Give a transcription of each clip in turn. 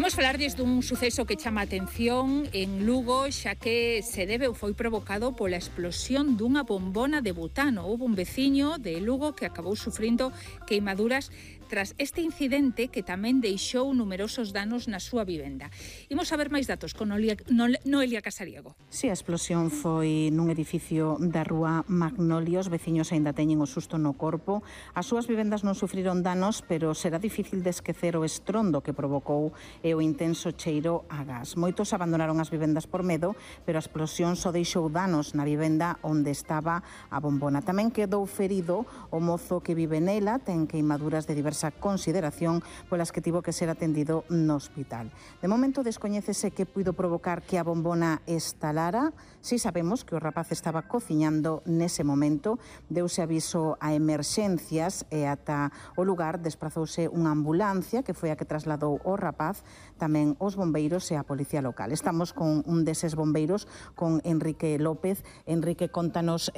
Imos falarlles dun suceso que chama a atención en Lugo, xa que se debe ou foi provocado pola explosión dunha bombona de butano. Houve un veciño de Lugo que acabou sufrindo queimaduras tras este incidente que tamén deixou numerosos danos na súa vivenda. Imos saber máis datos con Noelia Casariego. Si, a explosión foi nun edificio da rúa Magnolio. Os veciños aínda teñen o susto no corpo. As súas vivendas non sufriron danos, pero será difícil de esquecer o estrondo que provocou e o intenso cheiro a gas. Moitos abandonaron as vivendas por medo, pero a explosión só deixou danos na vivenda onde estaba a bombona. Tamén quedou ferido o mozo que vive nela, ten queimaduras de diversa consideración polas que tivo que ser atendido no hospital. De momento descoñécese que puido provocar que a bombona estalara. Si sabemos que o rapaz estaba cociñando nese momento, deuse aviso a emerxencias e ata o lugar desprazouse unha ambulancia que foi a que trasladou o rapaz, tamén os bombeiros e a policía local. Estamos con un deses bombeiros, con Enrique López. Enrique, contanos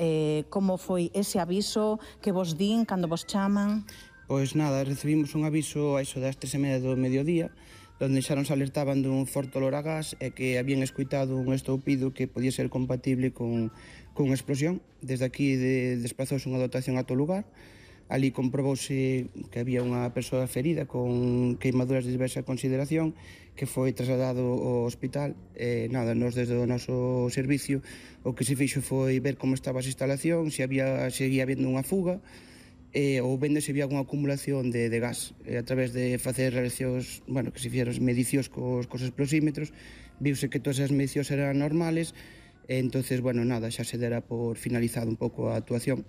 como foi ese aviso que vos din cando vos chaman. Pois nada, recibimos un aviso a iso das 3:30 do mediodía, onde xa nos alertaban dun forte olor a gas e que habían escoitado un estoupido que podía ser compatible con explosión. Desde aquí desplazouse unha dotación a todo lugar. Ali comprobouse que había unha persoa ferida con queimaduras de diversa consideración que foi trasladado ao hospital. Nada, nos desde o noso servicio o que se fixo foi ver como estaba as instalacións, se seguía habendo unha fuga, ou vendo se había alguna acumulación de gas. A través de facer relacións, que se fixeron medicións cos explosímetros, viuse que todas as medicións eran normales, e entonces, nada, xa se dera por finalizado un pouco a actuación.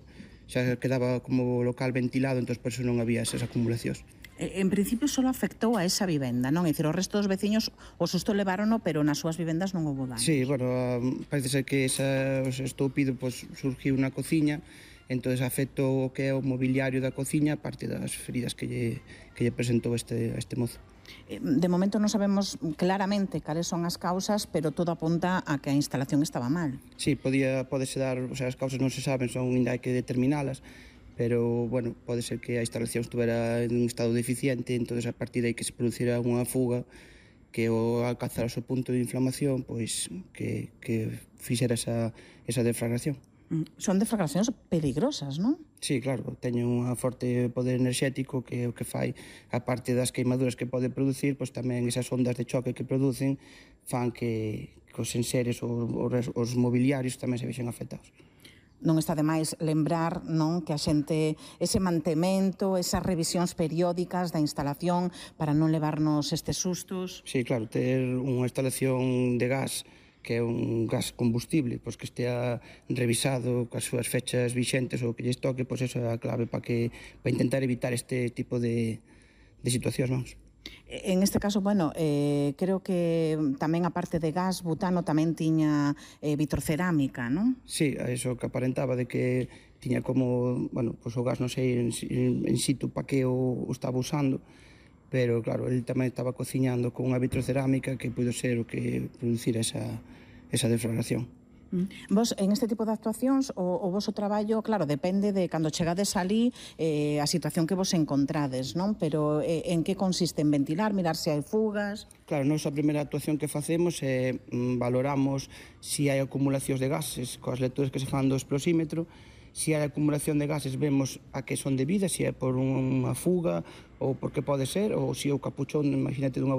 Xa quedaba como local ventilado, entón por eso non había esas acumulacións. En principio só afectou a esa vivenda, non? É dicir, o resto dos veciños o susto levárono, pero nas súas vivendas non houve danos. Sí, parece ser que ese estoupido surgiu na cociña, entón afectou o que é o mobiliario da cociña, parte das feridas que lle presentou este mozo. De momento non sabemos claramente cales son as causas, pero todo apunta a que a instalación estaba mal. Sí, podese dar, as causas non se saben, ainda hai que determinalas, pero, pode ser que a instalación estuvera en un estado deficiente, entón a partir de aí que se producira unha fuga que ao alcanzar o seu punto de inflamación, pois que fixera esa deflagración. Son deflagracións peligrosas, non? Sí, claro, teñen un forte poder enerxético que o que fai, a parte das queimaduras que pode producir, pois tamén esas ondas de choque que producen fan que os enseres ou os mobiliarios tamén se vexen afectados. Non está de máis lembrar, non, que a xente, ese mantemento, esas revisións periódicas da instalación para non levarnos estes sustos. Sí, claro, ter unha instalación de gas que é un gas combustible, pois que estea revisado coas súas fechas vixentes ou que lles toque, pois esa é a clave para intentar evitar este tipo de situacións, vamos. En este caso, creo que tamén a parte de gas, butano, tamén tiña vitrocerámica, non? Sí, eso que aparentaba de que tiña como, o gas non sei en situ para que o estaba usando, pero claro, ele tamén estaba cociñando con unha vitrocerámica que puido ser o que producira esa deflagración. Vos, en este tipo de actuacións, o voso traballo, claro, depende de cando chegades alí, a situación que vos encontrades, non? Pero en que consiste? En ventilar, mirar se hai fugas? Claro, a primeira actuación que facemos é valoramos se hai acumulacións de gases coas lecturas que se fan do explosímetro. Se hai acumulación de gases, vemos a que son debidas, se é por unha fuga ou por que pode ser, ou se é o capuchón, imagínate, dunha